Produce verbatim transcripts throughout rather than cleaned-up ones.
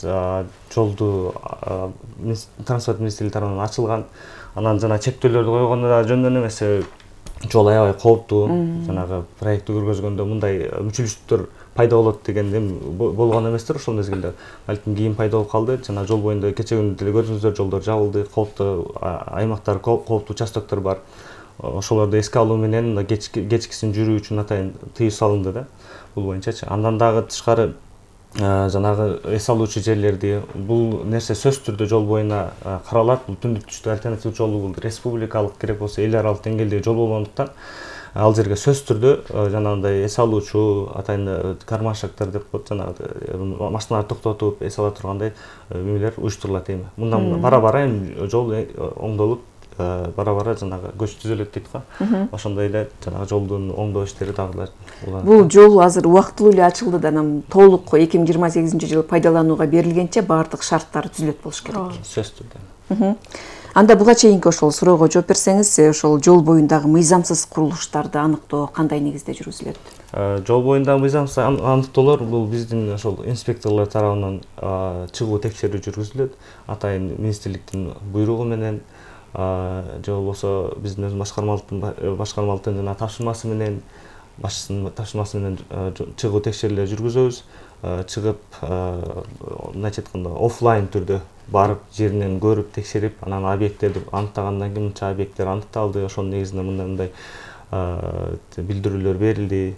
жолду транспорт министрлиги тарабынан ачылган. Анан жана чектөөлөрдү койгондо да жөндөн эмес, жол аябай кооптуу. Жанагы проектти көргөзгөндө мындай мүчүлүштүктөр пайда болот дегенден болгон эместир ошол мезгилде. Балким кийин пайда болуп калды. Жана жол боюнда кече күнү деле көрдүңүздөр, жолдор жабылды, кооптуу аймактар, кооптуу участоктор бар. Ошолорду эске алуу менен кечкисин жүрүү үчүн атайын тыюу салынды да. Бул боюнчачы. Андан дагы тышкары жанагы эс алуучу жерлерди, бул нерсе сөзсүз түрдө жол боюна каралат. Бул түндүк түштүк альтернатив жол, бул республикалык керек болсо эл аралык деңгээлдеги жол болгондуктан ал жерге сөзсүз түрдө жанагындай эс алуучу атайын кармашектер деп коет, жанагы машиналарды токтотуп эс ала тургандай эмелер уюштурулат эми. Мындан бара-бара эми жол оңдолуп, бара-бара жанагы көч түзөлөт дейт го. Ошондой эле жанагы жолдун оңдоо иштери дагы уланат. Бул жол азыр убактылуу эле ачылды да, анан толук эки миң жыйырма сегизинчи жылы пайдаланууга берилгенче баардык шарттар түзүлөт болуш керек. Сөзсүз түрдө. Анда буга чейинки ошол суроого жооп берсеңиз, ошол жол боюндагы мыйзамсыз курулуштарды аныктоо кандай негизде жүргүзүлөт? Жол боюндагы мыйзамсыз аныктоолор бул биздин ошол инспекторлор тарабынан чыгуу текшерүү жүргүзүлөт. Атайын министрликтин буйругу менен же болбосо биздин өз башкармалыктын башкармалыктын жана тапшырмасы менен, башчысынын тапшырмасы менен чыгуу текшерүүлөр жүргүзөбүз. Чыгып, мындайча айтканда, офлайн түрдө барып, жеринен көрүп, текшерип, анан объекттерди аныктагандан кийин мынча объекттер аныкталды, ошонун негизинде мындай билдирүүлөр берилди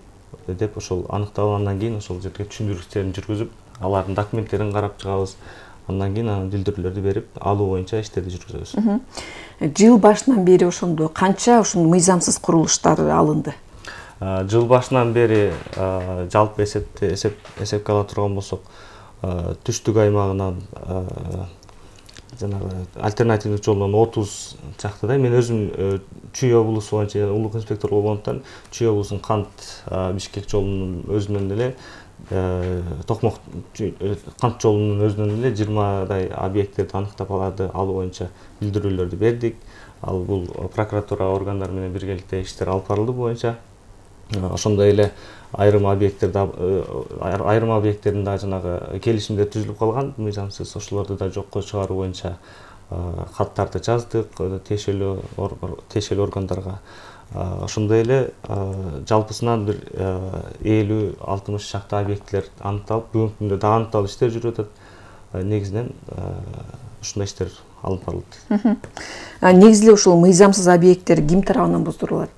деп ошол аныкталгандан кийин ошол жерге түшүндүрүү иштерин жүргүзүп, алардын документтерин карап чыгабыз. Андан кийин анан билдирүүлөрдү берип, алуу боюнча иштерди жүргүзөбүз. Жыл башынан бери ошондо канча ушул мыйзамсыз курулуштар алынды? Жыл башынан бери жалпы эсепте эсепке ала турган болсок, түштүк аймагынан жанагы альтернативдик жолдон отуз чактыдай. Мен өзүм Чүй облусу боюнча улук инспектор болгондуктан Чүй облусунун Кант Бишкек жолунун өзүнөн эле Токмок Кант жолунун өзүнөн эле жыйырмадай объекттерди аныктап аларды алуу боюнча билдирүүлөрдү бердик. Ал бул прокуратура органдары менен биргеликте иштер алып барылды боюнча. Ошондой эле айрым объекттерди айрым объекттердин да жанагы келишимдер түзүлүп калган, мыйзамсыз, ошолорду да жокко чыгаруу боюнча каттарды жаздык тиешелүү тиешелүү органдарга. Ошондой эле жалпысынан бир элүү алтымыш чакты объекттер аныкталып, бүгүнкү күндө дагы аныкталуу иштер жүрүп атат. Негизинен ушундай иштер алып барылат. Негизи эле ушул мыйзамсыз объекттер ким тарабынан боздурулат?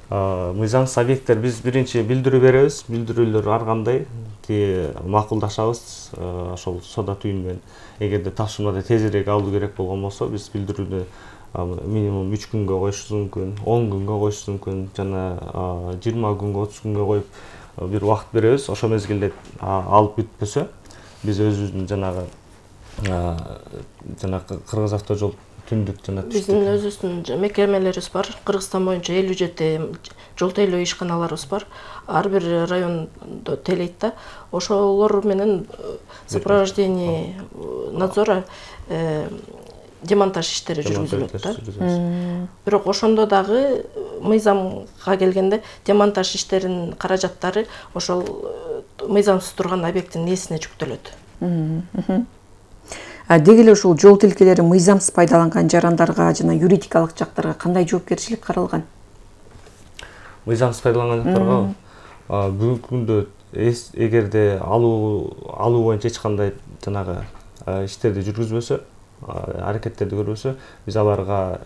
Мыйзамсыз объекттер биз биринчи билдирүү беребиз, билдирүүлөр ар кандай макулдашабыз ошол сода түйүн менен. Эгерде тапшырмада тезирээк алуу керек болгон болсо, биз билдирүүнү минимум үч күнгө коюшубуз мүмкүн, он күнгө коюшубуз мүмкүн, жана жыйырма күнгө, отуз күнгө коюп бир убакыт беребиз. Ошол мезгилде алып бүтпөсө, биз өзүбүздүн жанагы жана Кыргыз автожол түндүк жана түштүк. Биздин өзүбүздүн мекемелерибиз бар. Кыргызстан боюнча элүү жети жол тейлөө ишканаларыбыз бар. Ар бир райондо тейлейт да. Ошолор менен сопровождение надзора демонтаж иштери жүргүзүлөт да. Бирок ошондо дагы мыйзамга келгенде демонтаж иштеринин каражаттары ошол мыйзамсыз турган объекттин ээсине жүктөлөт. Деги эле ушул жол тилкелери мыйзамсыз пайдаланган жарандарга жана юридикалык жактарга кандай жоопкерчилик каралган? Мыйзамсыз пайдаланган жактарга бүгүнкү күндө эгерде алуу алуу боюнча эч кандай жанагы иштерди жүргүзбөсө, аракеттерди көрбөсө, биз аларга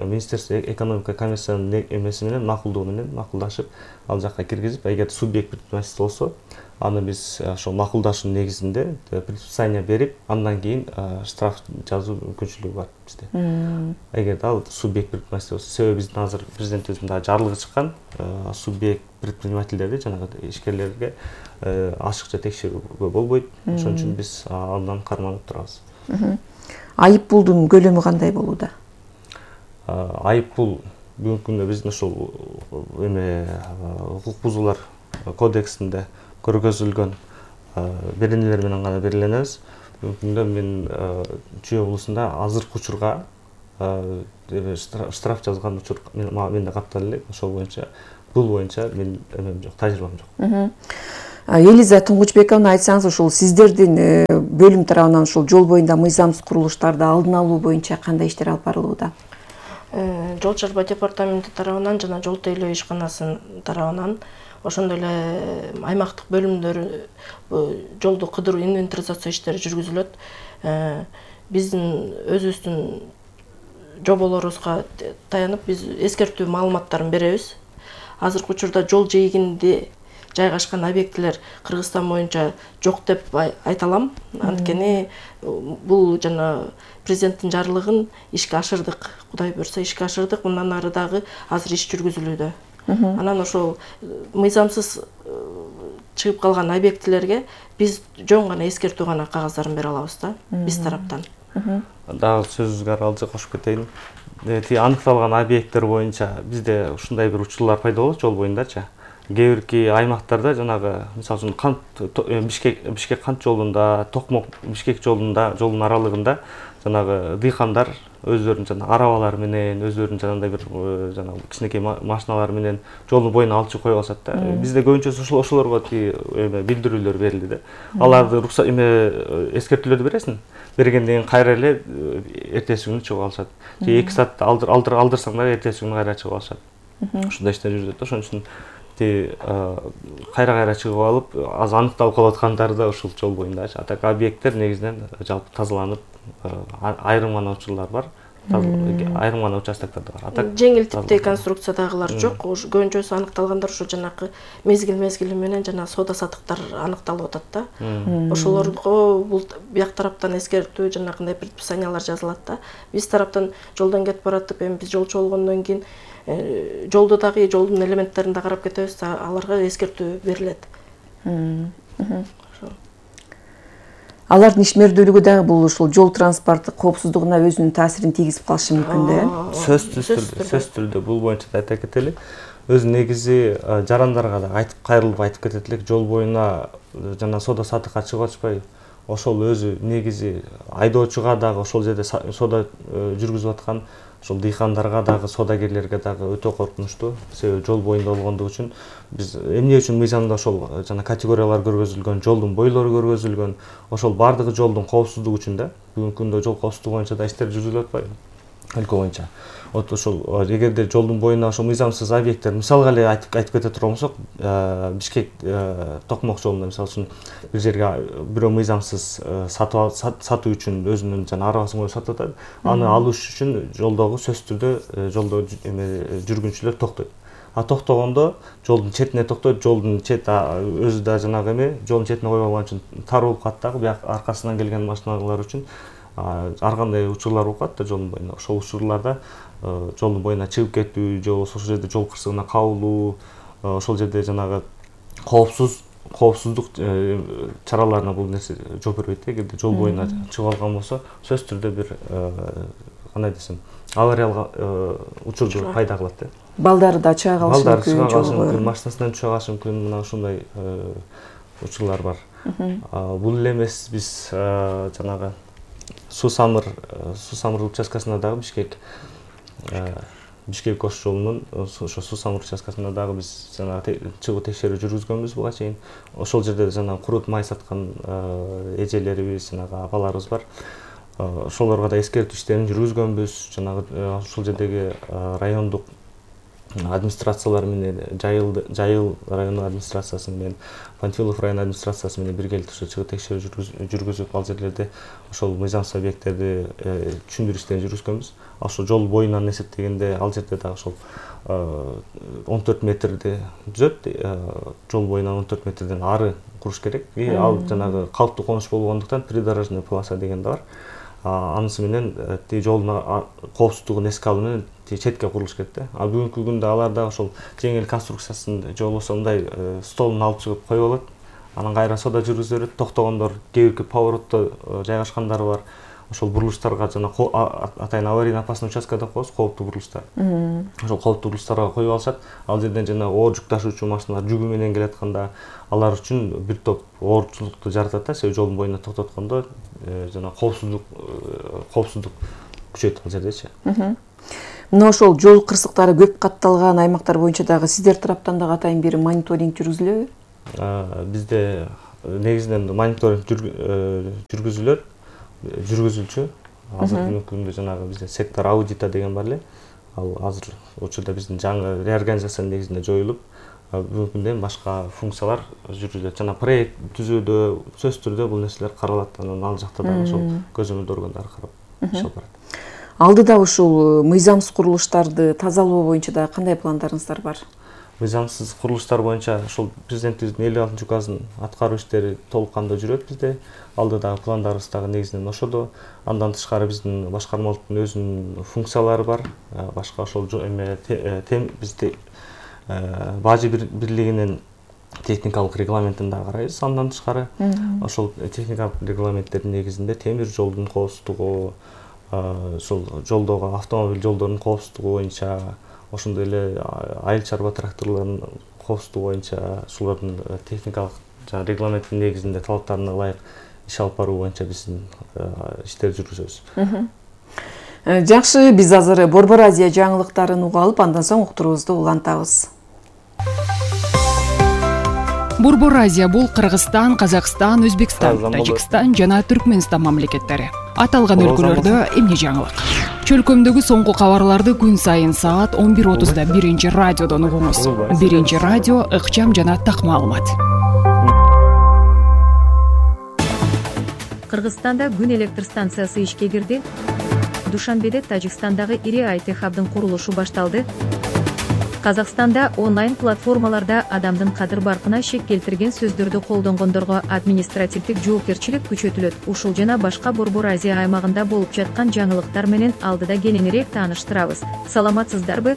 Министерство экономика комиссиянын эмеси менен макулдоо менен макулдашып, ал жакка киргизип, эгер субъект предпринимательство болсо, аны биз ошол макулдашуунун негизинде предписание берип, андан кийин штраф жазуу мүмкүнчүлүгү бар бизде. Эгерде ал субъект предпринимательство болсо, себеби биздин азыр президентибиздин дагы жарлыгы чыккан, субъект предпринимательдерди жанагы ишкерлерге ашыкча текшерүүгө болбойт. Ошон үчүн биз андан карманып турабыз. Айып пулдун көлөмү кандай болууда? Айып пул бүгүнкү күндө биздин ошол эме укук бузуулар кодексинде көргөзүлгөн беренелер менен гана белгиленебиз. Бүгүнкү күндө мен Чүй облусунда азыркы учурга штраф жазган учур менде катталып элек. Ошол боюнча бул боюнча мен эмем жок, тажрыйбам жок. Элиза Туңгучбековна, айтсаңыз, ушул сиздердин бөлүм тарабынан ушул жол боюнда мыйзамсыз курулуштарды алдын алуу боюнча кандай иштер алып барылууда? Жол чарба департаменти тарабынан жана жол тейлөө ишканасынын тарабынан ошондой эле аймактык бөлүмдөр жолду кыдыруу инвентаризация иштери жүргүзүлөт. Биздин өзүбүздүн жоболорубузга таянып биз эскертүү маалыматтарын беребиз. Азыркы учурда жол жээгинде жайгашкан объектилер Кыргызстан боюнча жок деп айта алам. Анткени бул жана президенттин жарлыгын ишке ашырдык. Кудай буйрса ишке ашырдык. Мындан ары дагы азыр иш жүргүзүлүүдө. Анан ошол мыйзамсыз чыгып калган объектилерге биз жөн гана эскертүү гана кагаздарын бере алабыз да, биз тараптан. Дагы сөзүңүзгө аралашып кошуп кетейин. Ти аныкталган объекттер боюнча бизде ушундай бир учурлар пайда болот жол боюндачы. Кээ бирки аймактарда жанагы мисалы үчүн кант Бишкек Бишкек кант жолунда, Токмок Бишкек жолунда, жолдун аралыгында жанагы дыйкандар өздөрүнүн жана арабалары менен, өздөрүнүн жанагындай бир жанагы кичинекей машиналары менен жолдун боюна алчу коюп алышат да. Бизде көбүнчөсү ошол ошолорго эме билдирүүлөр берилди да. Аларды руксат эме эскертүүлөрдү бересиң. Бергенден кийин кайра эле эртеси күнү чыгып алышат. Же эки саатта алдыр алдыр алдырсаң да эртеси күнү кайра чыгып алышат. Ушундай иштер жүрүзөт да. Ошон үчүн кайра-кайра чыгып алып, аз аныкталып калып аткандары да ушул жол боюндачы. Атак объекттер негизинен жалпы тазаланып, айрым гана учурлар бар. Айрым гана участоктарда бар. Атак жеңил типтеги конструкциядагылар жок. Көбүнчөсү аныкталгандар ушу жанакы мезгил-мезгили менен жана соода саттыктар аныкталып атат да. Ошолорго бул бияк тараптан эскертүү жанагындай предписаниялар жазылат да. Биз тараптан жолдон кетип баратып, эми биз жолчу болгондон кийин жолду дагы жолдун элементтерин да карап кетебиз, аларга эскертүү берилет. Алардын ишмердүүлүгү дагы бул ушул жол транспортту коопсуздугуна өзүнүн таасирин тийгизип калышы мүмкүн да. Сөзсүз түрдө, сөзсүз түрдө бул боюнча да айта кетели. Өзү негизи жарандарга да айтып кайрылып айтып кетет элек, жол боюна жана соода саттыкка чыгып атышпай, ошол өзү негизи айдоочуга дагы ошол жерде соода жүргүзүп аткан ошол дыйкандарга дагы, соодагерлерге дагы өтө коркунучтуу. Себеби жол боюнда болгондугу үчүн биз эмне үчүн мыйзамда ошол жана категориялар көргөзүлгөн, жолдун бойлору көргөзүлгөн, ошол бардыгы жолдун коопсуздугу үчүн да. Бүгүнкү күндө жол коопсуздугу боюнча да иштер жүргүзүлүп атпайбы? Өлкө боюнча. Вот ошол эгерде жолдун боюна ошол мыйзамсыз объекттер, мисалга эле айтып айтып кете турган болсок, Бишкек Токмок жолунда мисалы үчүн бир жерге бирөө мыйзамсыз сатып сатуу үчүн өзүнүн жана арабасын коюп сатып атат. Аны алыш үчүн жолдогу сөзсүз түрдө жолдо эме жүргүнчүлөр токтойт. А токтогондо жолдун четине токтойт, жолдун чети өзү да жанагы эме жолдун четине коюп алган үчүн тар болуп калат дагы, бияк аркасынан келген машиналар үчүн ар кандай учурлар болуп калат да жолдун боюнда. Ошол учурларда жолдун боюна чыгып кетүү, же болбосо ошол жерде жол кырсыгына кабылуу, ошол жерде жанагы коопсуз коопсуздук чараларына бул нерсе жол бербейт. Эгерде жол боюна чыгып алган болсо, сөзсүз түрдө бир кандай десем, авариялык учур пайда кылат да. Балдары да чыга калышы мүмкүн. Балдары чыга калышы мүмкүн, машинасынан түшө калышы мүмкүн. Мына ушундай учурлар бар. Бул эле эмес, биз жанагы Суу Самыр Суу Самыр участкасында дагы Бишкек Бишкек Ош жолунун ошо Суу Самыр участкасында дагы биз жанагы чыгуу текшерүү жүргүзгөнбүз буга чейин. Ошол жерде жанагы курут май саткан эжелерибиз, жанагы апаларыбыз бар. Ошолорго да эскертүү иштерин жүргүзгөнбүз. Жанагы ошол жердеги райондук администрациялар менен, Жайыл Жайыл райондук администрациясы менен, Панфилов район администрациясы менен биргеликте ошо чыгуу текшерүү жүргүзүп, ал жерлерде ошол мыйзамсыз объекттерди түшүндүрүү иштерин жүргүзгөнбүз. Ошол жол боюнан эсептегенде ал жерде дагы ошол он төрт метрди түзөт. Жол боюнан он төрт метрден ары куруш керек. И ал жанагы калктуу конуш болгондуктан придорожный полоса деген да бар. Анысы менен ти жолдун коопсуздугун эске алуу менен четке курулуш керек да. А бүгүнкү күндө алар да ошол жеңил конструкциясын же болбосо мындай столун алып чыгып коюп алат. Анан кайра соода жүргүзүп берет. Токтогондор кээ бирки поворотто жайгашкандары бар. Ошол бурулуштарга жана атайын аварийный опасный участка деп коебуз, кооптуу бурулуштар. Ошол кооптуу бурулуштарга коюп алышат. Ал жерден жана оор жүк ташуучу машиналар жүгү менен келатканда алар үчүн бир топ оорчулукту жаратат да. Себеби жолдун боюна токтоткондо жана коопсуздук коопсуздук күчөйт ал жердечи. Мына ошол жол кырсыктары көп катталган аймактар боюнча дагы сиздер тараптан дагы атайын бир мониторинг жүргүзүлөбү? бизде негизинен мониторинг жүргүзүлөт, жүргүзүлчү. Азыркы күндө жанагы бизде сектор аудита деген бар эле. Ал азыр учурда биздин жаңы реорганизациянын негизинде жоюлуп, бүгүнкү күндө башка функциялар жүргүзүлөт. Жана проект түзүүдө, сөзсүз түрдө бул нерселер каралат. Анан ал жакта дагы ошол көзөмөлдүү органдар карап иш алып барат. Алдыда ушул мыйзамсыз курулуштарды тазалоо боюнча да кандай пландарыңыздар бар? Мыйзамсыз курулуштар боюнча ошол президентибиздин элүү алтынчы указынын аткаруу иштери толук кандуу жүрөт бизде. Алдыдагы пландарыбыз дагы негизинен ошодо. Андан тышкары биздин башкармалыктын өзүнүн функциялары бар. Башка ошол эме бизде бажы бирлигинин техникалык регламентин да карайбыз. Андан тышкары ошол техникалык регламенттердин негизинде темир жолдун коопсуздугу, ошол жолдогу автомобиль жолдорунун коопсуздугу боюнча, ошондой эле айыл чарба тракторлорунун коопсуздугу боюнча ушулардын техникалык жана регламенттин негизинде талаптарына ылайык иш алып баруу боюнча биздин иштер жүргүзөбүз. Жакшы, биз азыр Борбор Азия жаңылыктарын угуп алып, андан соң уктуруубузду улантабыз. Борбор Азия бул Кыргызстан, Казакстан, Өзбекстан, Тажикстан жана Түркмөнстан мамлекеттери. Аталган өлкөлөрдө эмне жаңылык? Чөлкөмдөгү соңку кабарларды күн сайын саат он бир отузда биринчи радиодон угуңуз. Биринчи радио ыкчам жана так маалымат. Кыргызстанда күн электр станциясы ишке кирди. Душанбеде Тажикстандагы ири ай ти хабдын курулушу башталды. Казакстанда онлайн платформаларда адамдын кадыр баркына шек келтирген сөздөрдү колдонгондорго административдик жоопкерчилик күчөтүлөт. Ушул жана башка Борбор Азия аймагында болуп жаткан жаңылыктар менен алдыда кененирээк тааныштырабыз. Саламатсыздарбы?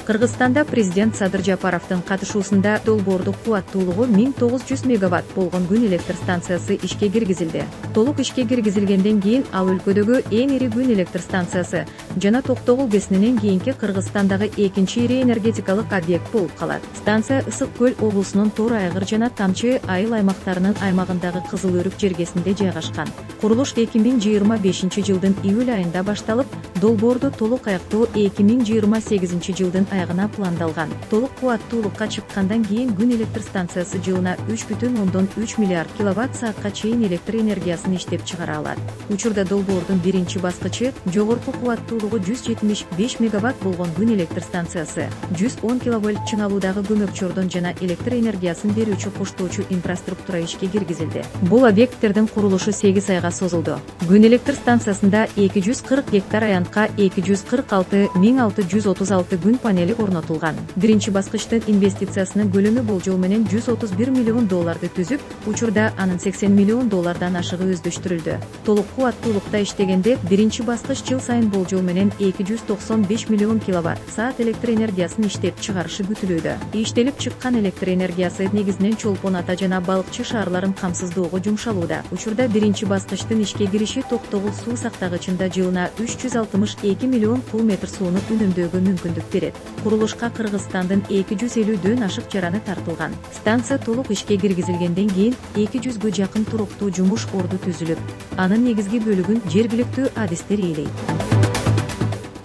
Кыргызстанда президент Садыр Жапаровдун катышуусунда долбоордук кубаттуулугу миң тогуз жүз мегаватт болгон күн электр станциясы ишке киргизилди. Толук ишке киргизилгенден кийин ал өлкөдөгү эң ири күн электр станциясы жана Токтогул КЭСинен кийинки Кыргызстандагы экинчи ири энергетикалык объект болуп калат. Станция Ысык көл облусунун Тор айгыр жана Тамчы айыл аймактарынын аймагындагы Кызыл Өрүк жергесинде жайгашкан. Курулуш эки миң жыйырма бешинчи жылдын июль айында башталып, долбоорду толук аяктоо эки миң жыйырма сегизинчи жылдын аягына пландалган. Толук кубаттуулукка чыккандан кийин күн электр станциясы жылына үч бүтүн ондон үч миллиард киловатт саатка чейин электр энергиясын иштеп чыгара алат. Учурда долбоордун биринчи баскычы жогорку кубаттуулугу жүз жетимиш беш мегаватт болгон күн электр станциясы жүз он киловольт чыңалуудагы көмөкчөрдөн жана электр энергиясын берүүчү коштоочу инфраструктура ишке киргизилди. Бул объекттердин курулушу сегиз айга созулду. Күн электр станциясында эки жүз кырк гектар аянтка эки жүз кырк алты миң алты жүз отуз алты күн панели орнотулган. Биринчи баскычтын инвестициясынын көлөмү болжол менен жүз отуз бир миллион долларды түзүп, учурда анын сексен миллион доллардан ашыгы өздөштүрүлдү. Толук кубаттуулукта иштегенде биринчи баскыч жыл сайын болжол менен эки жүз токсон беш миллион киловатт саат электр энергиясын иштеп чыгарышы күтүлүүдө. Иштелип чыккан электр энергиясы негизинен Чолпон Ата жана Балыкчы шаарларын камсыздоого жумшалууда. Учурда биринчи баскычтын ишке кириши Токтогул суу сактагычында жылына үч жүз алтымыш эки миллион куб метр сууну үнөмдөөгө мүмкүндүк берет. Курулушка Кыргызстандын эки жүз элүүдөн ашык жараны тартылган. Станция толук ишке киргизилгенден кийин эки жүзгө жакын туруктуу жумуш орду түзүлүп, анын негизги бөлүгүн жергиликтүү адистер ээлейт.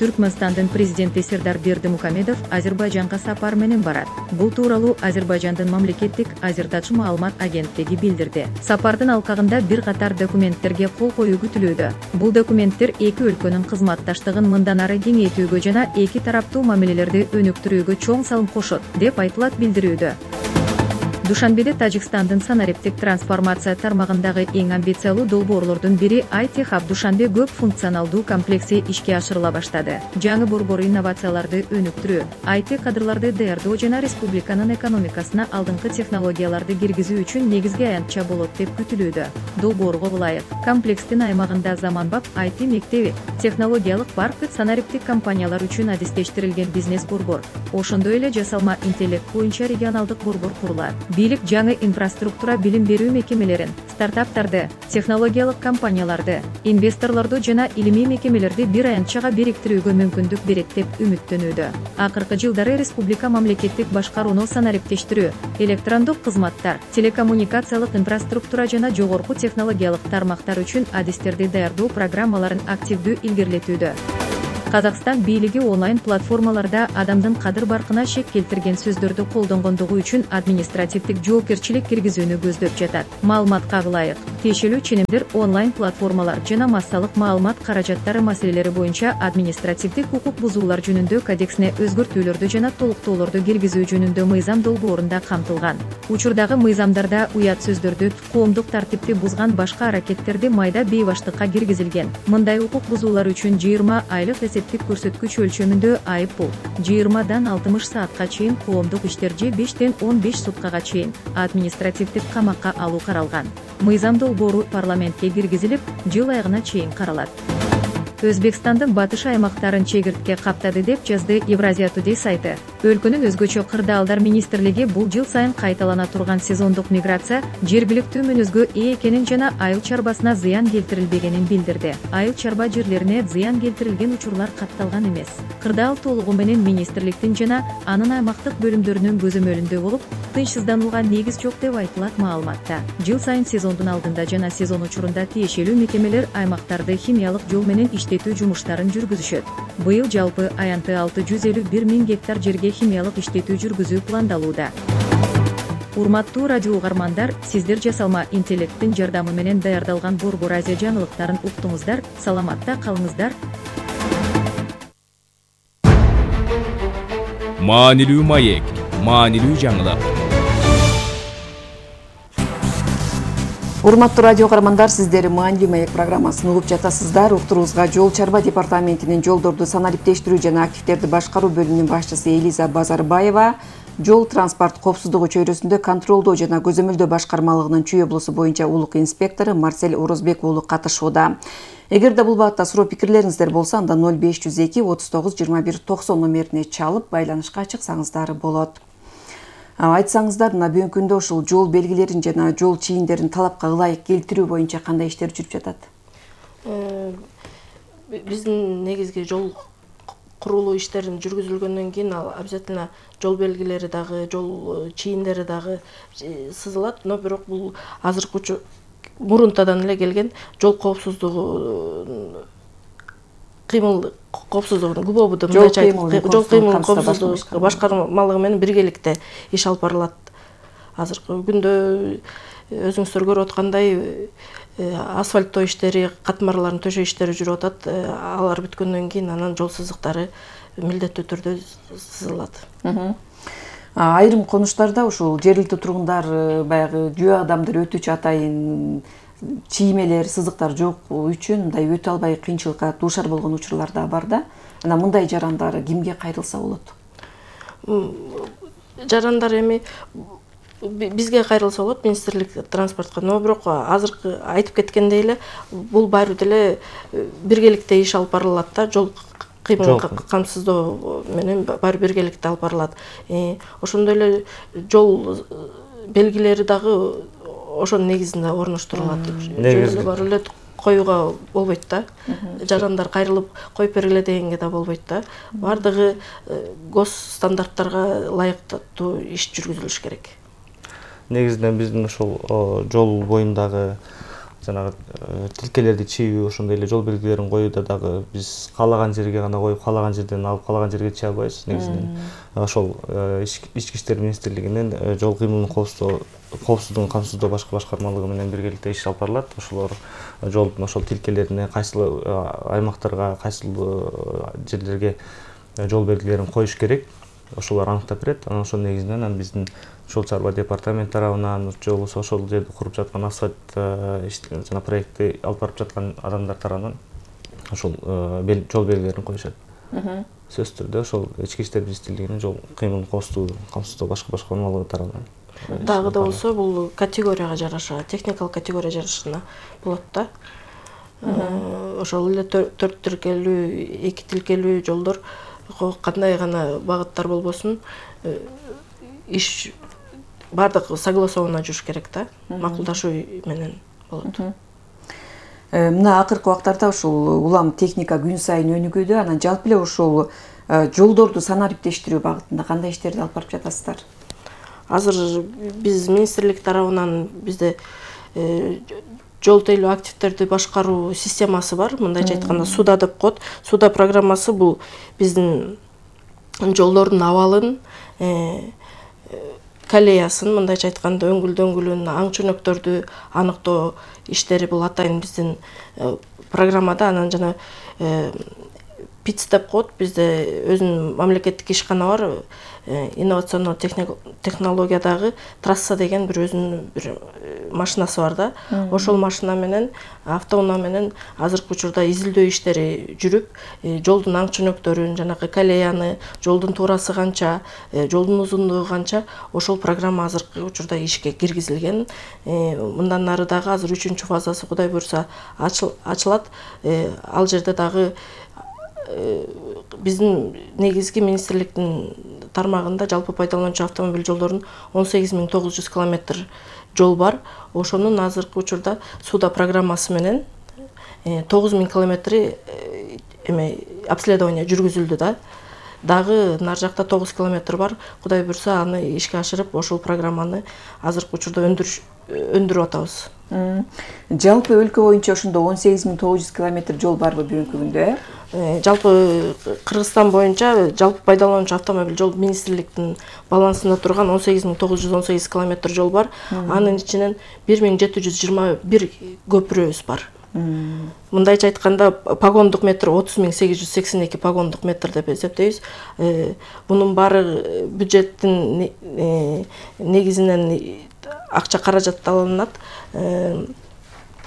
Түркмөнстандын президенти Сердар Бердимухамедов Азербайжанга сапар менен барат. Бул тууралуу Азербайжандын мамлекеттик Азертач маалымат агенттиги билдирди. Сапардын алкагында бир катар документтерге кол коюу күтүлүүдө. Бул документтер эки өлкөнүн кызматташтыгын мындан ары кеңейтүүгө жана эки тараптуу мамилелерди өнүктүрүүгө чоң салым кошот, деп айтылат билдирүүдө. Душанбеде Тажикстандын санариптик трансформация тармагындагы эң амбициялуу долбоорлордун бири ай ти хаб Душанбе көп функционалдуу комплекси ишке ашырыла баштады. Жаңы борбор инновацияларды өнүктүрүү, ай ти кадрларды даярдоо жана республиканын экономикасына алдыңкы технологияларды киргизүү үчүн негизги аянтча болот деп күтүлүүдө. Долбоорго ылайык, комплекстин аймагында заманбап ай ти мектеби, технологиялык парк, санариптик компаниялар үчүн адистештирилген бизнес борбор, ошондой эле жасалма интеллект боюнча регионалдык борбор курулат. Бийлик жаңы инфраструктура билим берүү мекемелерин, стартаптарды, технологиялык компанияларды, инвесторлорду жана илимий мекемелерди бир аянтчага бириктирүүгө мүмкүндүк берет деп үмүттөнүүдө. Акыркы жылдары республика мамлекеттик башкарууну санариптештирүү, электрондук кызматтар, телекоммуникациялык инфраструктура жана жогорку технологиялык тармактар үчүн адистерди даярдоо программаларын активдүү илгерилетүүдө. Казакстан бийлиги онлайн платформаларда адамдын кадыр баркына шек келтирген сөздөрдү колдонгондугу үчүн административдик жоопкерчилик киргизүүнү көздөп жатат. Маалыматка ылайык, тиешелүү ченемдер онлайн платформалар жана массалык маалымат каражаттары маселелери боюнча административдик укук бузуулар жөнүндө кодексине өзгөртүүлөрдү жана толуктоолорду киргизүү жөнүндө мыйзам долбоорунда камтылган. Учурдагы мыйзамдарда уят сөздөрдү, коомдук тартипти бузган башка аракеттерди майда бейбаштыкка киргизилген. Мындай укук бузуулар үчүн жыйырма айлык эсептик көрсөткүч өлчөмүндө айып пул, жыйырмадан алтымыш саатка чейин коомдук иштер же бештен он беш суткага чейин административдик камакка алуу каралган. Мыйзам долбоору парламентке киргизилип, жыл айыгына чейин каралат. Өзбекстандын батыш аймактарын чегиртке каптады деп жазды Евразия Today сайты. Өлкөнүн өзгөчө кырдаалдар министрлиги бул жыл сайын кайталана турган сезондук миграция жергиликтүү мүнөзгө ээ экенин жана айыл чарбасына зыян келтирилбегенин билдирди. Айыл чарба жерлерине зыян келтирилген учурлар катталган эмес. Кырдаал толугу менен министрликтин жана анын аймактык бөлүмдөрүнүн көзөмөлүндө болуп, тынчсызданууга негиз жок деп айтылат маалыматта. Жыл сайын сезондун алдында жана сезон учурунда тиешелүү мекемелер аймактарды химиялык жол менен иштетүү жумуштарын жүргүзүшөт. Быйыл жалпы аянты алты жүз элүү бир миң гектар жерге химиялык иштетүү жүргүзүү пландалууда. Урматтуу радио угармандар, сиздер жасалма интеллекттин жардамы менен даярдалган Борбор Азия жаңылыктарын уктуңуздар. Саламатта калыңыздар. Маанилүү маек, маанилүү жаңылык. Урматтуу радио угармандар, сиздер Маанилүү маек программасын угуп жатасыздар. Уктуруубузга Жол чарба департаментинин жолдорду санариптештирүү жана активдерди башкаруу бөлүмүнүн башчысы Элиза Базарбаева, жол транспорт коопсуздугу чөйрөсүндө контролдоо жана көзөмөлдөө башкармалыгынын Чүй облусу боюнча улук инспектору Марсель Орозбек уулу катышууда. Эгерде бул багытта суроо пикирлериңиздер болсо, анда ноль беш жүз эки отуз тогуз жыйырма бир токсон номерине чалып байланышка чыксаңыздар болот. Айтсаңыздар, мына бүгүнкү күндө ушул жол белгилерин жана жол чийиндерин талапка ылайык келтирүү боюнча кандай иштер жүрүп жатат? Биздин негизги жол курулуу иштерин жүргүзүлгөндөн кийин обязательно жол белгилери дагы, жол чийиндери дагы сызылат, но бирок бул азыркы мурунтадан эле келген жол коопсуздугу кыймыл коопсуздугунун ГУБОБУ жол кыймыл коопсуздугу башкармалыгы менен биргеликте иш алып барылат. Азыркы күндө өзүңүздөр көрүп аткандай асфальттоо иштери, катмарлардын төшөө иштери жүрүп атат. Алар бүткөндөн кийин анан жол сызыктары милдеттүү түрдө сызылат. Айрым конуштарда ушул жергиликтүү тургундар баягы жөө адамдар өтүүчү атайын чиймелер, сызыктар жок үчүн мындай өтө албай кыйынчылыкка дуушар болгон учурлар да бар да. Анан мындай жарандар кимге кайрылса болот? Жарандар эми бизге кайрылса болот, министрлик транспортко. Но бирок азыркы айтып кеткендей эле бул баары деле биргеликте иш алып барылат да, жол кыймыл камсыздоо менен баары биргеликте алып барылат. Ошондой эле жол белгилери дагы ошонун негизинде орноштурулат. Негизи бар эле коюуга болбойт да. Жарандар кайрылып коюп бергиле дегенге да болбойт да. Бардыгы гос стандарттарга ылайыктуу иш жүргүзүлүш керек. Негизинен биздин ошол жол боюндагы жанагы тилкелерди чийүү, ошондой эле жол белгилерин коюуда дагы биз каалаган жерге гана коюп, каалаган жерден алып каалаган жерге чыга албайбыз. Негизинен ошол ички иштер министрлигинин жол кыймылын коопсуздоо коопсуздугун камсыздоо башкы башкармалыгы менен биргеликте иш алып барылат. Ошолор жолдун ошол тилкелерине кайсыл аймактарга, кайсыл жерлерге жол белгилерин коюш керек, ошолор аныктап берет. Анан ошонун негизинен анан биздин Жол чарба департамент тарабынан жолу ошол жерди куруп жаткан асфальт жана проектти алып барып жаткан адамдар тарабынан ошол жол белгилерин коюшат. Сөзсүз түрдө ошол ички иштер министрлигинин жол кыймылын камсыздоо башкы башкармалыгы тарабынан. Дагы да болсо бул категорияга жараша, техникалык категория жарашына болот да. Ошол эле төрт тилкелүү, эки тилкелүү жолдор кандай гана багыттар болбосун иш бардык согласованно жүрүш керек да, макулдашуу менен болот. Мына акыркы убактарда ушул улам техника күн сайын өнүгүүдө, анан жалпы эле ушул жолдорду санариптештирүү багытында кандай иштерди алып барып жатасыздар? Азыр биз министрлик тарабынан бизде жол тейлөө активдерди башкаруу системасы бар. Мындайча айтканда суда деп коет. Суда программасы бул биздин жолдордун абалын, колеясын, мындайча айтканда өңгүл-дөңгүлүн, аң чөнөктөрдү аныктоо иштери бул атайын биздин программада. Анан жана ПИЦ деп коет. Бизде өзүнүн мамлекеттик ишкана бар. Инновациондуу технологиядагы трасса деген бир өзүнүн бир машинасы бар да. Ошол машина менен, автоунаа менен азыркы учурда изилдөө иштери жүрүп, жолдун аң чөнөктөрүн, жанагы колеяны, жолдун туурасы канча, жолдун узундугу канча, ошол программа азыркы учурда ишке киргизилген. Мындан нары дагы азыр үчүнчү фазасы Кудай буйруса ачылат. Ал жерде дагы биздин негизги министрликтин тармагында жалпы пайдалануучу автомобиль жолдорунун он сегиз миң тогуз жүз километр жол бар. Ошонун азыркы учурда суда программасы менен тогуз миң километри эме обследование жүргүзүлдү да. Дагы нар жакта тогуз километр бар. Кудай буйруса аны ишке ашырып, ошол программаны азыркы учурда өндүрүш өндүрүп атабыз. Жалпы өлкө боюнча ошондо он сегиз миң тогуз жүз километр жол барбы бүгүнкү күндө? Жалпы Кыргызстан боюнча жалпы пайдалануучу автомобиль жол министрликтин балансында турган он сегиз миң тогуз жүз он сегиз километр жол бар. Анын ичинен бир миң жети жүз жыйырма бир көпүрөбүз бар. Мындайча айтканда погондук метр отуз миң сегиз жүз сексен эки погондук метр деп эсептейбиз. Бунун баары бюджеттин негизинен акча каражатталынат.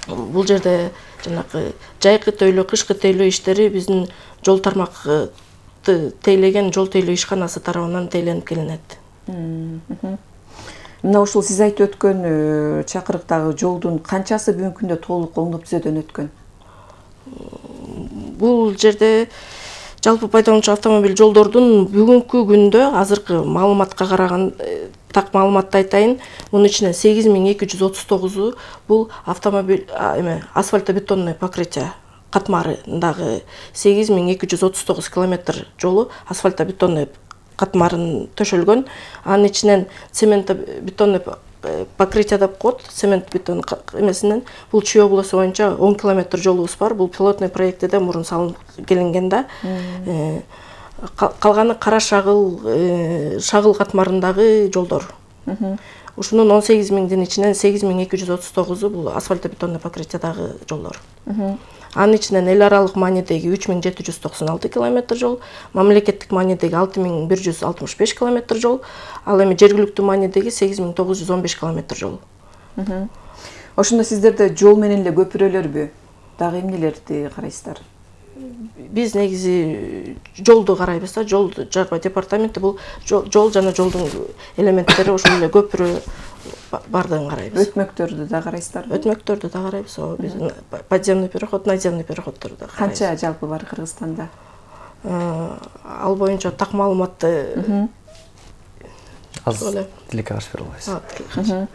Бул жерде жанагы жайкы тейлөө, кышкы тейлөө иштери биздин жол тармакты тейлеген жол тейлөө ишканасы тарабынан тейленип келинет. Мына ушул сиз айтып өткөн чакырыктагы жолдун канчасы бүгүнкү күндө толук оңдоп түзөөдөн өткөн? Бул жерде жалпы пайдалануучу автомобиль жолдордун бүгүнкү күндө азыркы маалыматка караган так маалыматты айтайын. Мунун ичинен сегиз миң эки жүз отуз тогузу бул автомобиль эме асфальтобетонный покрытие катмарындагы сегиз миң эки жүз отуз тогуз километр жолу асфальтобетонный катмарын төшөлгөн. Анын ичинен цементобетонный покрытие деп коет. Цемент бетон эмесинен бул Чүй облусу боюнча он километр жолубуз бар. Бул пилотный проектиде мурун салынып келинген да. Калганы кара шагыл, шагыл катмарындагы жолдор. Ушунун он сегиз миңдин ичинен сегиз миң эки жүз отуз тогузу бул асфальтобетонный покрытиядагы жолдор. Анын ичинен эл аралык маанидеги үч миң жети жүз токсон алты километр жол, мамлекеттик маанидеги алты миң бир жүз алтымыш беш километр жол, ал эми жергиликтүү маанидеги сегиз миң тогуз жүз он беш километр жол. Ошондо сиздерде жол менен эле көпүрөлөрбү? Дагы эмнелерди карайсыздар? Биз негизи жолду карайбыз да. Жол чарба департаменти бул жол жана жолдун элементтери ошол эле көпүрө бардыгын карайбыз. Өтмөктөрдү да карайсыздарбы? Өтмөктөрдү да карайбыз. Биздин подземный переход, надземный переходдорду да карайбыз. Канча жалпы бар Кыргызстанда? Ал боюнча так маалыматты аз тилекке каршы бере албайсыз.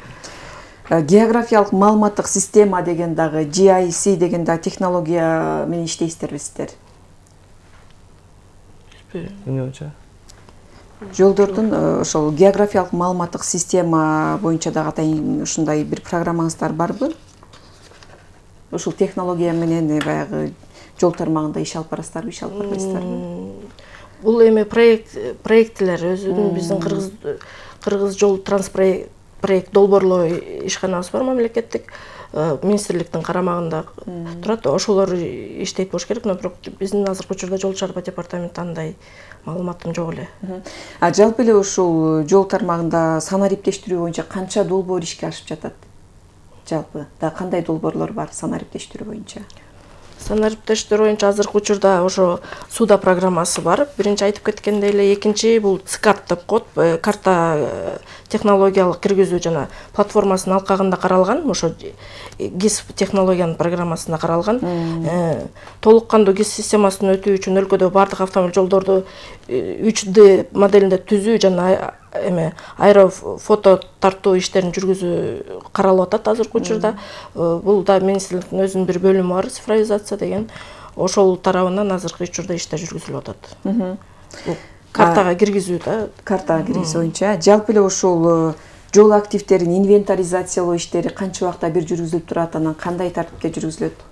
Географиялык маалыматтык система деген дагы G I S деген дагы технология менен иштейсиздерби сиздер? Эмне боюнча? Жолдордун ошол географиялык маалыматтык система боюнча дагы атайын ушундай бир программаңыздар барбы? Ушул технология менен баягы жол тармагында иш алып барасыздарбы, иш алып барбайсыздарбы? Бул эми проект проекттер өзүнүн биздин кыргыз кыргыз жол транспорт проект долбоорлоо ишканабыз бар, мамлекеттик министрликтин карамагында турат. Ошолор иштейт болуш керек, но бирок биздин азыркы учурда жол чарба департаменти андай маалыматым жок эле. А жалпы эле ушул жол тармагында санариптештирүү боюнча канча долбоор ишке ашып жатат? Жалпы да кандай долбоорлор бар санариптештирүү боюнча? Санариптештирүү боюнча азыркы учурда ошо суда программасы бар. Биринчи айтып кеткендей эле, экинчи бул ЦКАРТ деп коет, карта технологиялык киргизүү жана платформасынын алкагында каралган, ошо ГИС технологиянын программасында каралган. Толук кандуу ГИС системасын өтүү үчүн өлкөдө бардык автомобиль жолдорду үч дэ моделинде түзүү жана эме аэрофото тартуу иштерин жүргүзүү каралып атат азыркы учурда. Бул да министрликтин өзүнүн бир бөлүмү бар, цифровизация деген. Ошол тарабынан азыркы учурда иштер жүргүзүлүп атат. Картага киргизүү да. Картага киргизүү боюнча жалпы эле ушул жол активдерин инвентаризациялоо иштери канча убакта бир жүргүзүлүп турат, анан кандай тартипте жүргүзүлөт?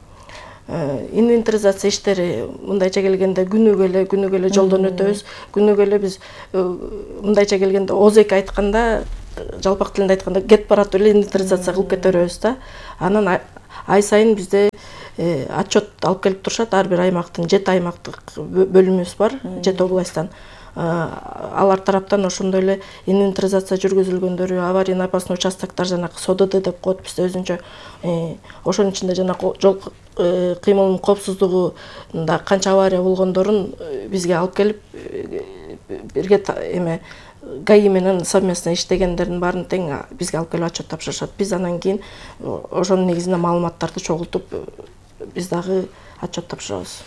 Инвентаризация иштери мындайча келгенде күнүгө эле күнүгө эле жолдон өтөбүз. Күнүгө эле биз мындайча келгенде ооз эки айтканда, жалпак тилинде айтканда кетип баратып эле инвентаризация кылып кете беребиз да. Анан ай сайын бизде отчет алып келип турушат. Ар бир аймактын жети аймактык бөлүмүбүз бар, жети областтан. Алар тараптан ошондой эле инвентаризация жүргүзүлгөндөрү, аварийный опасный участоктор, жанагы СОДД деп коет бизде өзүнчө. Ошонун ичинде жанагы жол кыймылынын коопсуздугунда канча авария болгондорун бизге алып келип, бирге эме ГАИ менен совместно иштегендердин баарын тең бизге алып келип отчет тапшырышат. Биз анан кийин ошонун негизинде маалыматтарды чогултуп, биз дагы отчет тапшырабыз.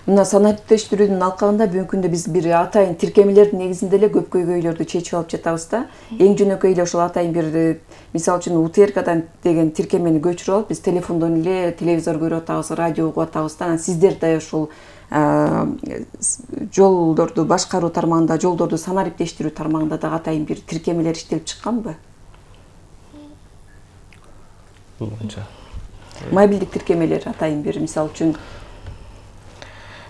Мына санариптештирүүдүн алкагында бүгүнкү күндө биз бир атайын тиркемелердин негизинде эле көп көйгөйлөрдү чечип алып жатабыз да. Эң жөнөкөй эле ошол атайын бир, мисалы үчүн У Т Р Кдан деген тиркемени көчүрүп алып, биз телефондон эле телевизор көрүп атабыз, радио угуп атабыз да. Анан сиздер да ошол жолдорду башкаруу тармагында, жолдорду санариптештирүү тармагында да атайын бир тиркемелер иштелип чыкканбы? Бул боюнча мобилдик тиркемелер атайын бир, мисалы үчүн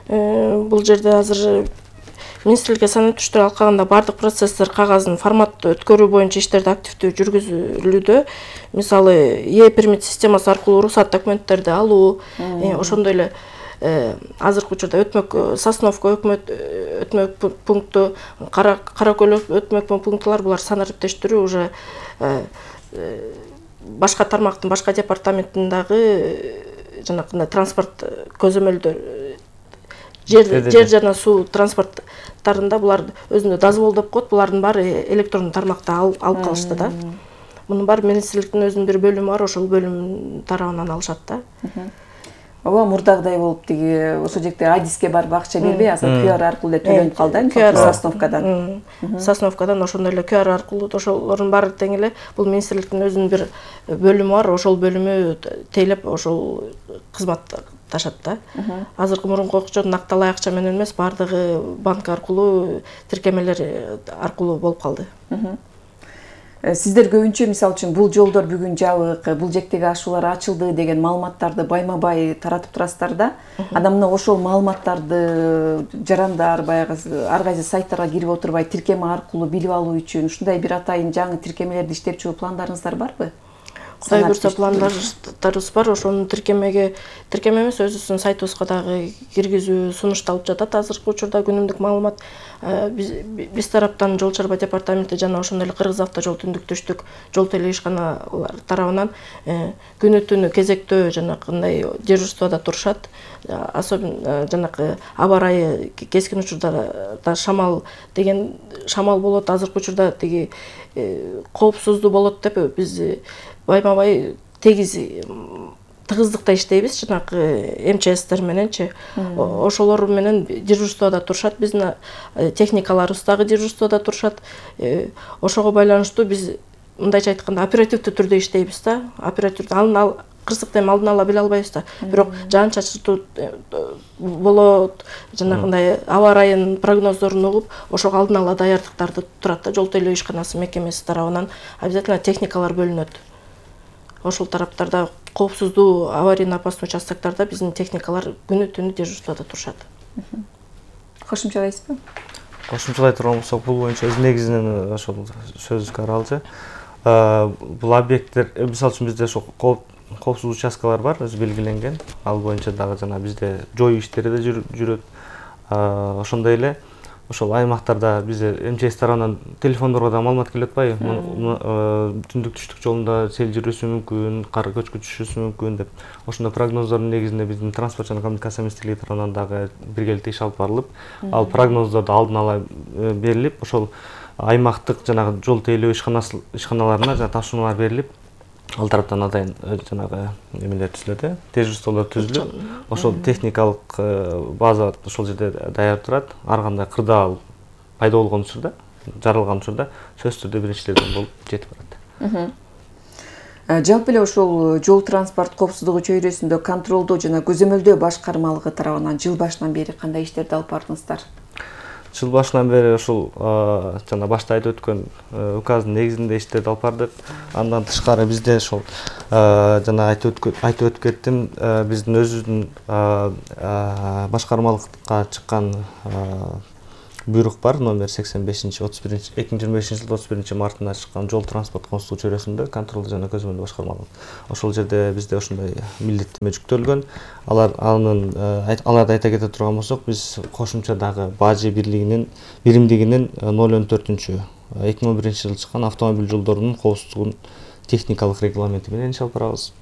бул жерде азыр министрликке санариптештирүү алкагында бардык процесстер кагазын формат өткөрүү боюнча иштерди активдүү жүргүзүлүүдө. Мисалы, Е пермит системасы аркылуу уруксат документтерди алуу, ошондой эле азыркы учурда өтмөк Сосновка өкмөт өтмөк пункту, Каракөл өтмөк пунктулар, булар санариптештирүү уже башка тармактын башка департаментиндагы жанакындай транспорт көзөмөлдөр, жер жер жана суу транспорттарында булар өзүндө дозвол деп коет, булардын баары электрондук тармакта алып калышты да. Мунун баары министрликтин өзүнүн бир бөлүмү бар, ошол бөлүм тарабынан алышат да. Ооба, мурдагыдай болуп тиги ошол жекте Адиске барып акча бербей, азыр Q R аркылуу эле төлөнүп калды, Сосновкадан. Сосновкадан ошондой эле Q R аркылуу, ошолордун баары тең эле. Бул министрликтин өзүнүн бир бөлүмү бар, ошол бөлүмү тейлеп ошол кызмат ташат да. Азыркы мурунку окчодон акталай акча менен эмес, баардыгы банк аркылуу, тиркемелер аркылуу болуп калды. Сиздер көбүнчө, мисалы үчүн, бул жолдор бүгүн жабык, бул жектеги ашуулар ачылды деген маалыматтарды байма-бай таратып турасыздар да. Анан мына ошол маалыматтарды жарандар, баягы ар кайсы сайттарга кирип отурбай тиркеме аркылуу билип алуу үчүн ушундай бир атайын жаңы тиркемелерди иштеп чыгуу пландарыңыздар барбы? Кудай буйрса пландарыбыз бар. Ошону тиркемеге, тиркеме эмес, өзүбүздүн сайтыбызга дагы киргизүү сунушталып жатат. Азыркы учурда күнүмдүк маалымат биз тараптан Жол чарба департаменти жана ошондой эле Кыргыз автожол түндүк-түштүк жол теле ишканалар тарабынан күнү түнү кезектөө жанакындай дежурствода турушат. Особенно жанакы аба ырайы кескин учурда шамал деген шамал болот. Азыркы учурда тиги коопсуздуу болот деп биз байма-бай тегиз тыгыздыкта иштейбиз, жанакы эм че эстер мененчи. Ошолор менен дежурствода турушат, биздин техникаларыбыз дагы дежурствода турушат. Ошого байланыштуу биз мындайча айтканда оперативдүү түрдө иштейбиз да. Оперативдүү алдын кырсыкты эми алдын ала биле албайбыз да. Бирок жаан чачыртуу болот, жанагындай аба ырайынын прогноздорун угуп, ошого алдын ала даярдыктарды турат да. Жол тейлөө ишканасы мекемеси тарабынан обязательно техникалар бөлүнөт. Ошол тараптарда коопсуздуу аварийный опасный участоктордо биздин техникалар күнү түнү дежурствода турушат. Кошумчалайсызбы? Кошумчалай турган болсок, бул боюнча өз негизинен ошол сөзүбүзгө аралчы. Бул объекттер, мисалы үчүн бизде ошол коопсуз участкалар бар, өзү белгиленген. Ал боюнча дагы жана бизде жоюу иштери да жүрөт. Ошондой эле ошол аймактарда бизде эм че эс тарабынан телефондорго да маалымат келип атпайбы? Түндүк-түштүк жолунда сел жүрүшү мүмкүн, кар көчкү түшүшү мүмкүн деп. Ошондой прогноздордун негизинде биздин транспорт жана коммуникация министрлиги тарабынан дагы биргеликте иш алып барылып, ал прогноздорду алдын ала берилип, ошол аймактык жанагы жол тейлөө ишканаларына жана тапшырмалар берилип, ал тараптан атайын жанагы эмелер түзүлөт, дежурстволор түзүлүп, ошол техникалык база ошол жерде даяр турат. Ар кандай кырдаал пайда болгон учурда, жаралган учурда сөзсүз түрдө биринчилерден болуп жетип барат. Жалпы эле ошол жол транспорт коопсуздугу чөйрөсүндө контролдоо жана көзөмөлдөө башкармалыгы тарабынан жыл башынан бери кандай иштерди алып бардыңыздар? жыл башынан бери ушул жана башта айтып өткөн указдын негизинде иштерди алып бардык. Андан тышкары бизде ошол жана айтып айтып өтүп кеттим, биздин өзүбүздүн башкармалыкка чыккан буйрук бар, номер сексен бешинчи отуз биринчи эки миң жыйырма бешинчи жылдын отуз биринчи мартында чыккан жол транспорт коопсуздугу чөйрөсүндө контролдуу жана көзөмөлдүү башкармалык. Ошол жерде бизде ошондой милдеттенме жүктөлгөн. Алар анын аларды айта кете турган болсок, биз кошумча дагы бажы бирлигинин биримдигинин ноль он төртүнчү эки миң он биринчи жылы чыккан автомобиль жолдорунун коопсуздугун техникалык регламенти менен иш алып барабыз.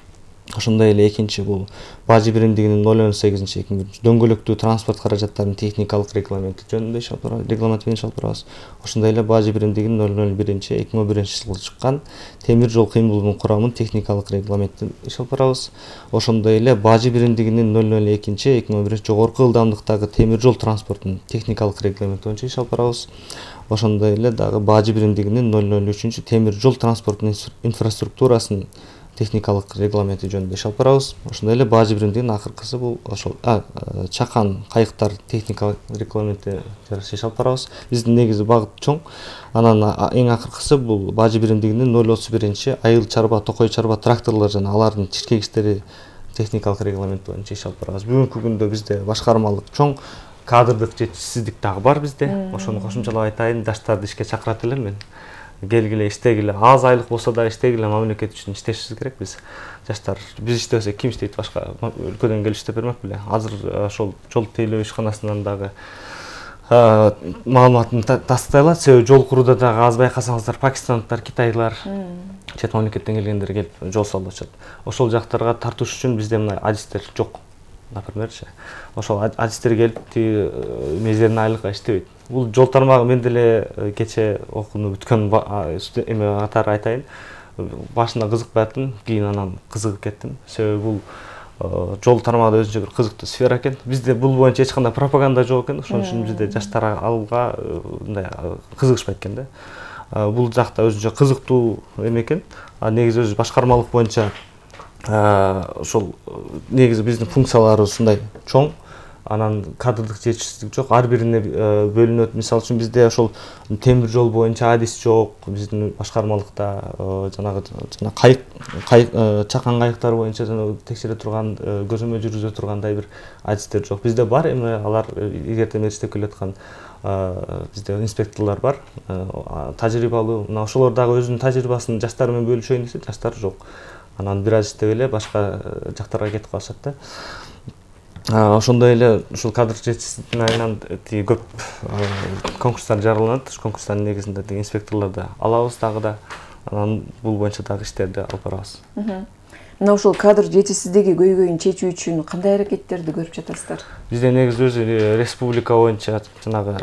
Ошондой эле экинчи бул бажы биримдигинин ноль он сегизинчи эки миң дөңгөлөктүү транспорт каражаттарынын техникалык регламенти жөнүндө иш алып барабыз, регламенти менен иш алып барабыз. Ошондой эле бажы биримдигинин ноль ноль биринчи эки миң он биринчи жылы чыккан темир жол кыймылынын курамын техникалык регламентин иш алып барабыз. Ошондой эле бажы биримдигинин ноль ноль экинчи эки миң он биринчи жогорку ылдамдыктагы темир жол транспортунун техникалык регламенти боюнча иш алып барабыз. Ошондой эле дагы бажы биримдигинин ноль ноль үчүнчү темир жол транспортунун инфраструктурасынын техникалык регламенти жөнүндө иш алып барабыз. Ошондой эле бажы биримдигинин акыркысы бул ошол чакан кайыктар техникалык регламенти жараша иш алып барабыз. Биздин негизи багыт чоң. Анан эң акыркысы бул бажы биримдигинин ноль отуз биринчи айыл чарба, токой чарба тракторлор жана алардын чиркегичтери техникалык регламент боюнча иш алып барабыз. Бүгүнкү күндө бизде башкармалык чоң, кадрдык жетишсиздик дагы бар бизде. Ошону кошумчалап айтайын, жаштарды ишке чакырат элем мен. Келгиле, иштегиле, аз айлык болсо да иштегиле, мамлекет үчүн иштешибиз керек биз. Жаштар биз иштебесек ким иштейт, башка өлкөдөн келип иштеп бермек беле. Азыр ошол жол тейлөө ишканасынан дагы маалыматын тастайлат. Себеби жол курууда дагы аз байкасаңыздар пакистандыктар, китайлар, чет мамлекеттен келгендер келип жол салып атышат. Ошол жактарга тартыш үчүн бизде мына адистер жок. Напримерчи, ошол адистер келип тиги мезерин айлыкка иштебейт. Бул жол тармагы мен деле кече окууну бүткөн эме катары айтайын. Башында кызыкпайтым, кийин анан кызыгып кеттим. Себеби бул жол тармагы өзүнчө бир кызыктуу сфера экен. Бизде бул боюнча эч кандай пропаганда жок экен. Ошон үчүн бизде жаштар алга мындай кызыгышпайт экен да. Бул жакта өзүнчө кызыктуу эме экен. А негизи өзү башкармалык боюнча ошол негизи биздин функцияларыбыз ушундай чоң. Анан кадрдык жетишсиздик жок. Ар бирине бөлүнөт. Мисалы үчүн бизде ошол темир жол боюнча адис жок. Биздин башкармалыкта жанагы жана кайык чакан кайыктар боюнча жана текшере турган, көзөмөл жүргүзө тургандай бир адистер жок. Бизде бар эми алар илгертен бери иштеп келаткан бизде инспекторлор бар, тажрыйбалуу. Мына ошолор дагы өзүнүн тажрыйбасын жаштар менен бөлүшөйүн десе, жаштар жок. Анан бир аз иштеп эле башка жактарга кетип калышат да. Ошондой эле ушул кадр жетишсиздиктин айынан тиги көп конкурстар жарыяланат. Ошол конкурстардын негизинде тиги инспекторлорду алабыз дагы да. Анан бул боюнча дагы иштерди алып барабыз. Мына ушул кадр жетишсиздиги көйгөйүн чечүү үчүн кандай аракеттерди көрүп жатасыздар? Бизде негизи өзү республика боюнча жанагы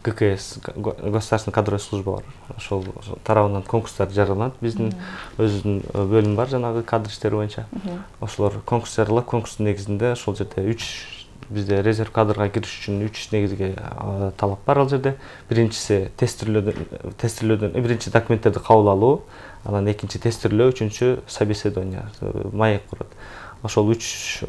гэ ка эс, государственная кадровая служба бар. Ошол тарабынан конкурстар жарыяланат. Биздин өзүнүн бөлүм бар жанагы кадр иштери боюнча. Ошолор конкурс жарыялап, конкурстун негизинде ошол жерде үч бизде резерв кадрга кириш үчүн үч негизги талап бар ал жерде. Биринчиси тестирлөөдөн тестирлөөдөн биринчи документтерди кабыл алуу, анан экинчи тестирлөө, үчүнчү собеседование, маек курат. Ошол үч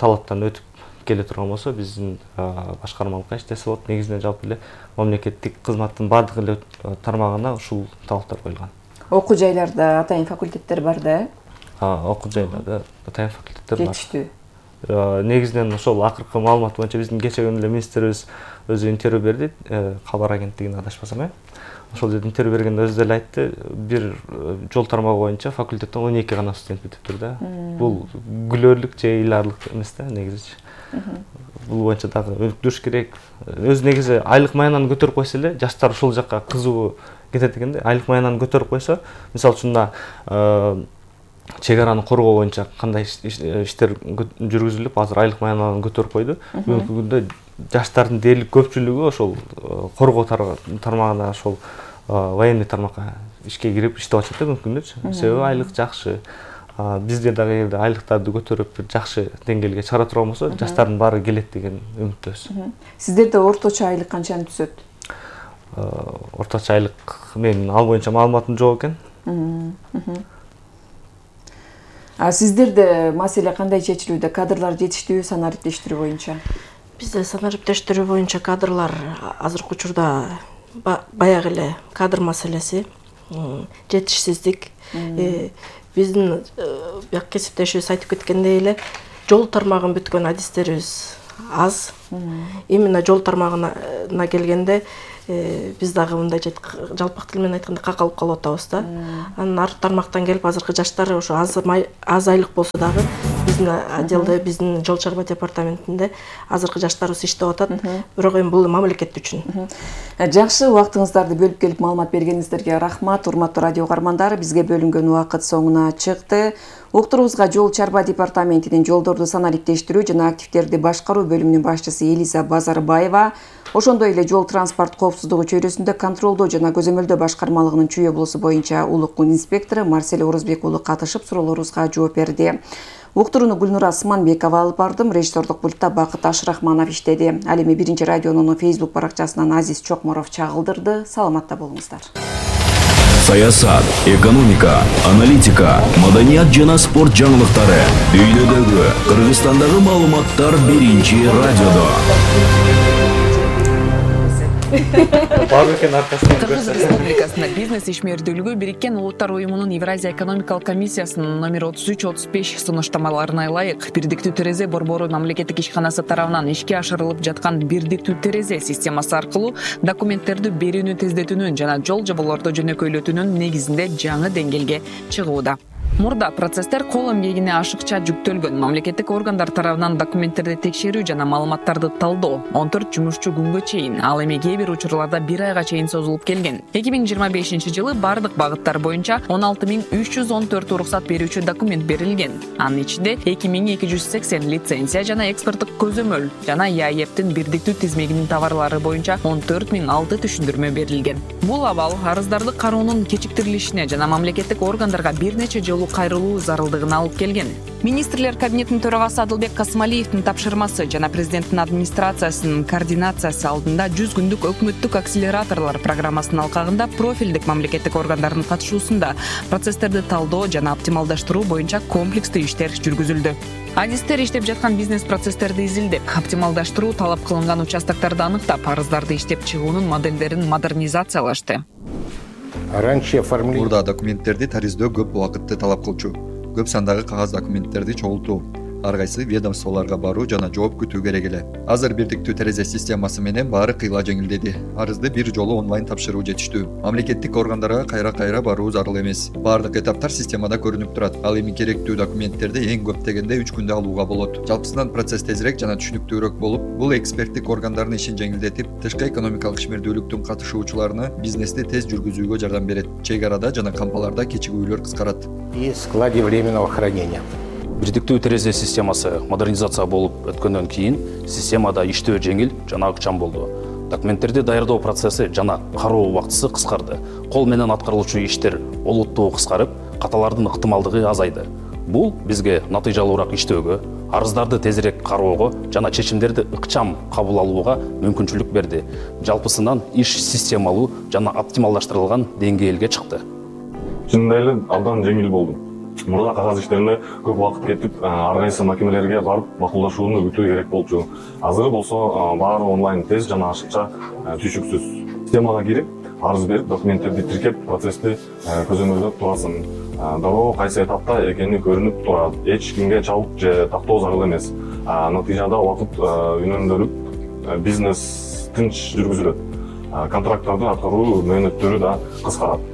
талаптан өтүп келе турган болсо биздин башкармалыкка иштесе болот. Негизинен жалпы эле мамлекеттик кызматтын баардык эле тармагына ушул талаптар коюлган. Окуу жайларда атайын факультеттер бар да? Окуу жайларда атайын факультеттер бар. Жетиштүү. Негизинен ошол акыркы маалымат боюнча биздин кечээ күнү эле министрибиз өзү интервью берди, кабар агенттигине адашпасам э. Ошол жерде интервью бергенде өзү деле айтты, бир жол тармагы боюнча факультеттен он эки гана студент бүтүптүр да. Бул күлөрлүк же ыйлаарлык эмес да негизичи. Бул боюнча дагы өнүктүрүш керек. Өз негизи айлык маянаны көтөрүп койсо эле жаштар ушул жакка кызыгуу кетет экен да. Айлык маянаны көтөрүп койсо, мисалы үчүн мына чек араны коргоо боюнча кандай иштер жүргүзүлүп, азыр айлык маянаны көтөрүп койду. Бүгүнкү күндө жаштардын дээрлик көпчүлүгү ошол коргоо тармагына, ошол военный тармакка ишке кирип иштеп атышат да бүгүнкү күндө. Себеби айлык жакшы. Бизде дагы эгерде айлыктарды көтөрүп бир жакшы деңгээлге чыгара турган болсо, жаштардын баары келет деген үмүттөбүз. Сиздерде орточо айлык канчаны түзөт? Орточо айлык менин ал боюнча маалыматым жок экен. А сиздерде маселе кандай чечилүүдө? Кадрлар жетиштүү санариптештирүү боюнча? Бизде санариптештирүү боюнча кадрлар азыркы учурда баягы эле кадр маселеси, жетишсиздик. Биздин бияк кесиптешибиз айтып кеткендей эле жол тармагын бүткөн адистерибиз аз. Именно жол тармагына келгенде биз дагы мындай жалпак тил менен айтканда какалып калып атабыз да. Анан ар тармактан келип азыркы жаштар ошо аз аз айлык болсо дагы биздин отделде, биздин жол чарба департаментинде азыркы жаштарыбыз иштеп атат. Бирок эми бул мамлекет үчүн. Жакшы, убактыңыздарды бөлүп келип маалымат бергениңиздерге рахмат. Урматтуу радио угармандар, бизге бөлүнгөн убакыт соңуна чыкты. Уктуруубузга жол чарба департаментинин жолдорду санариптештирүү жана активдерди башкаруу бөлүмүнүн башчысы Элиза Базарбаева, ошондой эле жол транспорт коопсуздугу чөйрөсүндө контролдоо жана көзөмөлдөө башкармалыгынын Чүй облусу боюнча улуттук инспектору Марсель Орузбек уулу катышып суроолорубузга жооп берди. Уктурууну Гүлнура Сманбекова алып бардым, режиссердук пультта Бакыт Ашрахманов иштеди. Ал эми биринчи радионун Facebook баракчасынан Азиз Чокморов чагылдырды. Саламатта болуңуздар. Саясат, экономика, аналитика, маданият жана спорт жаңылыктары. Дүйнөдөгү, Кыргызстандагы маалыматтар биринчи радиодо. Кыргыз Республикасында бизнес ишмердүүлүгү Бириккен Улуттар уюмунун Евразия экономикалык комиссиясынын номер отуз үч отуз беш сунуштамаларына ылайык бирдиктүү терезе борбору мамлекеттик ишканасы тарабынан ишке ашырылып жаткан бирдиктүү терезе системасы аркылуу документтерди берүүнү тездетүүнүн жана жол жоболорду жөнөкөйлөтүүнүн негизинде жаңы деңгээлге чыгууда. Мурда процесстер кол эмгегине ашыкча жүктөлгөн. Мамлекеттик органдар тарабынан документтерди текшерүү жана маалыматтарды талдоо он төрт жумушчу күнгө чейин, ал эми кээ бир учурларда бир айга чейин созулуп келген. эки миң жыйырма бешинчи жылы бардык багыттар боюнча он алты миң үч жүз он төрт уруксат берүүчү документ берилген. Анын ичинде эки миң эки жүз сексен лицензия жана экспорттук көзөмөл жана ЯЭПтин бирдиктүү тизмегинин товарлары боюнча он төрт миң алты түшүндүрмө берилген. Бул абал арыздарды кароонун кечиктирилишине жана мамлекеттик органдарга бир нече жолу кайрылуу зарылдыгына алып келген. Министрлер кабинетинин төрагасы Адылбек Касымалиевдин тапшырмасы жана президенттин администрациясынын координациясы алдында жүз күндүк өкмөттүк акселераторлор программасынын алкагында профилдик мамлекеттик органдардын катышуусунда процесстерди талдоо жана оптималдаштыруу боюнча комплекстүү иштер жүргүзүлдү. Адистер иштеп жаткан бизнес процесстерди изилдеп, оптималдаштыруу талап кылынган участокторду аныктап, арыздарды иштеп чыгуунун моделдерин модернизациялашты. Мурда документтерди тариздөө көп убакытты талап кылчу. Көп сандагы кагаз документтерди чогултуу, ар кайсы ведомстволорго баруу жана жооп күтүү керек эле. Азыр бирдиктүү терезе системасы менен баары кыйла жеңилдеди. Арызды бир жолу онлайн тапшыруу жетиштүү. Мамлекеттик органдарга кайра-кайра баруу зарыл эмес. Баардык этаптар системада көрүнүп турат. Ал эми керектүү документтерди эң көп дегенде үч күндө алууга болот. Жалпысынан процесс тезирээк жана түшүнүктүүрөөк болуп, бул эксперттик органдардын ишин жеңилдетип, тышкы экономикалык ишмердүүлүктүн катышуучуларына бизнести тез жүргүзүүгө жардам берет. Чек арада жана кампаларда кечигүүлөр кыскарат. И складе временного хранения. Бирдиктүү терезе системасы модернизация болуп өткөндөн кийин системада иштөө жеңил жана ыкчам болду. Документтерди даярдоо процесси жана кароо убактысы кыскарды. Кол менен аткарылуучу иштер олуттуу кыскарып, каталардын ыктымалдыгы азайды. Бул бизге натыйжалуураак иштөөгө, арыздарды тезирээк кароого жана чечимдерди ыкчам кабыл алууга мүмкүнчүлүк берди. Жалпысынан иш системалуу жана оптималдаштырылган деңгээлге чыкты. Чындап эле абдан жеңил болду. Мурда кагаз иштерине көп убакыт кетип, ар кайсы макемелерге барып макулдашууну күтүү керек болчу. Азыр болсо баары онлайн тез жана ашыкча, түшүксүз. Системага кирип, арыз берип, документтерди тиркеп, процессти көзөмөлдөп турасың. Дароо кайсы этапта экени көрүнүп турат. Эч кимге чабык же тактоо зарыл эмес. Натыйжада убакыт үнөмдөлүп, бизнес тынч жүргүзүлөт. Контракттарды аткаруу мөөнөттөрү да кыскарат.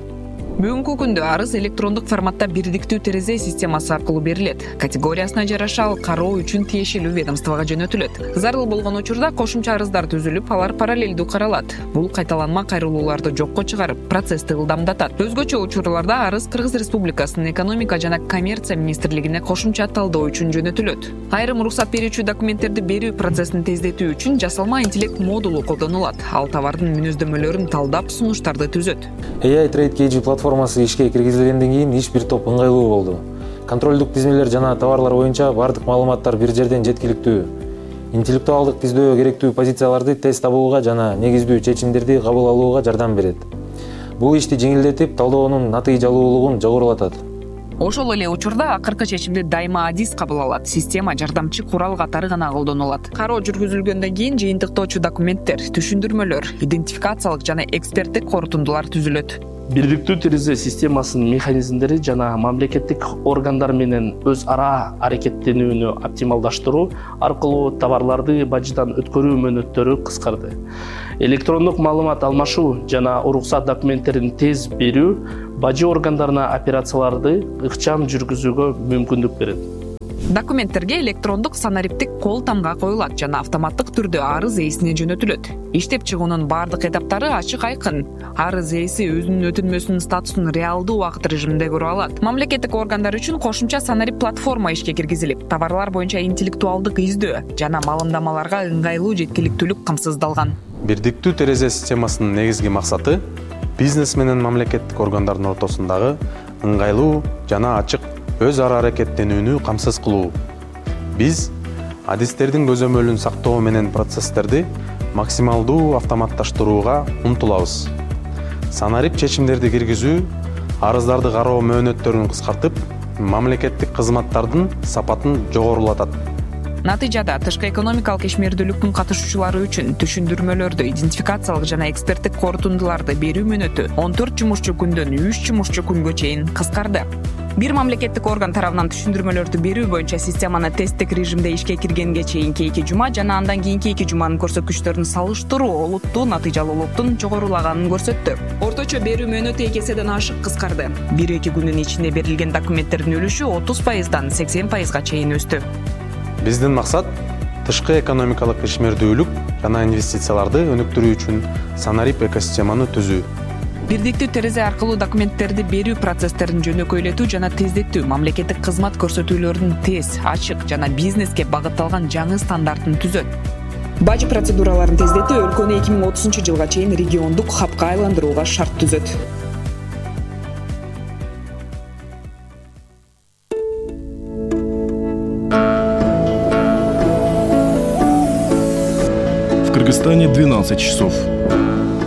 Бүгүнкү күндө арыз электрондук форматта бирдиктүү терезе системасы аркылуу берилет. Категориясына жараша ал кароо үчүн тиешелүү ведомствого жөнөтүлөт. Зарыл болгон учурда кошумча арыздар түзүлүп, алар параллелдүү каралат. Бул кайталанма кайрылууларды жокко чыгарып, процессти ылдамдатат. Өзгөчө учурларда арыз Кыргыз Республикасынын экономика жана коммерция министрлигине кошумча талдоо үчүн жөнөтүлөт. Айрым уруксат берүүчү документтерди берүү процессин тездетүү үчүн жасалма интеллект модулу колдонулат. Ал товардын мүнөздөмөлөрүн талдап, сунуштарды түзөт. эй ай Trade кей джи платформасы ишке киргизилгенден кийин иш бир топ ыңгайлуу болду. Контролдук тизмелер жана товарлар боюнча бардык маалыматтар бир жерден жеткиликтүү. Интеллектуалдык тиздөө керектүү позицияларды тез табууга жана негиздүү чечимдерди кабыл алууга жардам берет. Бул ишти жеңилдетип, талдоонун натыйжалуулугун жогорулатат. Ошол эле учурда акыркы чечимди дайыма адис кабыл алат. Система жардамчы курал катары гана колдонулат. Кароо жүргүзүлгөндөн кийин жыйынтыктоочу документтер, түшүндүрмөлөр, идентификациялык жана эксперттик корутундулар түзүлөт. Бирдиктүү терезе системасынын механизмдери жана мамлекеттик органдар менен өз ара аракеттенүүнү оптималдаштыруу аркылуу товарларды бажыдан өткөрүү мөөнөттөрү кыскарды. Электрондук маалымат алмашуу жана уруксат документтерин тез берүү бажы органдарына операцияларды ыкчам жүргүзүүгө мүмкүндүк берет. Документтерге электрондук санариптик кол тамга коюлат жана автоматтык түрдө арыз ээсине жөнөтүлөт. Иштеп чыгуунун бардык этаптары ачык айкын. Арыз ээси өзүнүн өтүнмөсүнүн статусун реалдуу убакыт режиминде көрө алат. Мамлекеттик органдар үчүн кошумча санарип платформа ишке киргизилип, товарлар боюнча интеллектуалдык издөө жана маалымдамаларга ыңгайлуу жеткиликтүүлүк камсыздалган. Бирдиктүү терезе системасынын негизги максаты бизнес менен мамлекеттик органдардын ортосундагы ыңгайлуу жана ачык өз ара аракеттенүүнү камсыз кылуу. Биз адистердин көзөмөлүн сактоо менен процесстерди максималдуу автоматташтырууга умтулабыз. Санарип чечимдерди киргизүү арыздарды кароо мөөнөттөрүн кыскартып, мамлекеттик кызматтардын сапатын жогорулатат. Натыйжада тышкы экономикалык ишмердүүлүктүн катышуучулары үчүн түшүндүрмөлөрдү, идентификациялык жана эксперттик корутундуларды берүү мөөнөтү он төрт жумушчу күндөн үч жумушчу күнгө чейин кыскарды. Бир мамлекеттик орган тарабынан түшүндүрмөлөрдү берүү боюнча системаны тесттик режимде ишке киргенге чейинки эки жума жана андан кийинки эки жуманын көрсөткүчтөрүн салыштыруу олуттуу натыйжалуулуктун жогорулаганын көрсөттү. Орточо берүү мөөнөтү эки эседен ашык кыскарды. бир эки күндүн ичинде берилген документтердин үлүшү отуз пайыздан сексен пайызга чейин өстү. Биздин максат тышкы экономикалык ишмердүүлүк жана инвестицияларды өнүктүрүү үчүн санарип экосистеманы түзүү. Бирдиктүү терезе аркылуу документтерди берүү процесстерин жөнөкөйлөтүү жана тездетүү, мамлекеттик кызмат көрсөтүүлөрүнүн тез, ачык жана бизнеске багытталган жаңы стандартын түзөт. Бажы процедураларын тездетүү өлкөнү эки миң отузунчу жылга чейин региондук хабка айландырууга шарт түзөт. В Кыргызстане двенадцать часов.